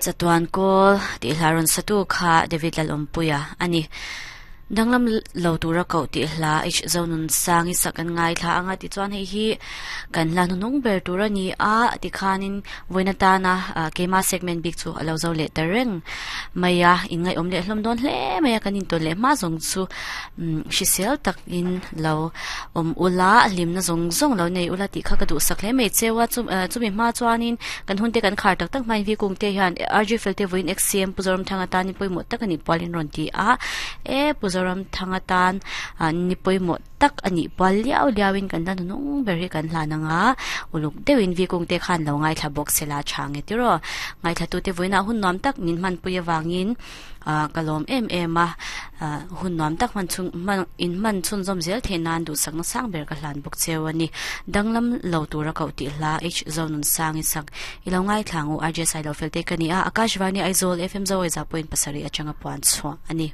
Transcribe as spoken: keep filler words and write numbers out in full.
Chatuan kawl tih hla rawn satu kha David Lalawmpuia ani. Danglam lo tura koh tih hla H Zonun Sangi sak an ngai thla anga tichuan hei hi kan hla hnuhnung ber tur ani a tikhanin vawiin atana keima segment bik chu a lo zo leh ta reng mai a inngaihawm leh hlawm dawn hle mai a kan intawn leh hma zawng chu hrisel takin lo awm ula hlimna zawng zawng lo nei ula tih kha ka duhsak hle mai cheu a chumi hma chuanin kan hun te kan khar tak tak hmain vikung te hian R G fel te vawiin X C M Pu Zoram Thanga tan ni pawimawh tak ani pualin rawn ti a e Pu Zoram Thanga tan ni pawimawh tak ani pual liau liauin kan la hnung ber hi kan hlan anga uluk deuhin vikung te khan lo ngai thla bawk sela change tiro ngai thla tu te vawiinah hun nuam tak min hman pui awangin kalawm em em a hun nuam tak man chung man in man chun zawm zel theih nan duhsak na sang ber ka hlan bawk cheu ani danglam lo tura koh tih hla H Zonun Sangi sak ilo ngai thlangu R J Sailo fel te ka ni a Akashvani Aizawl F M Zo Aiza point pasarih atanga puan chhuah ani.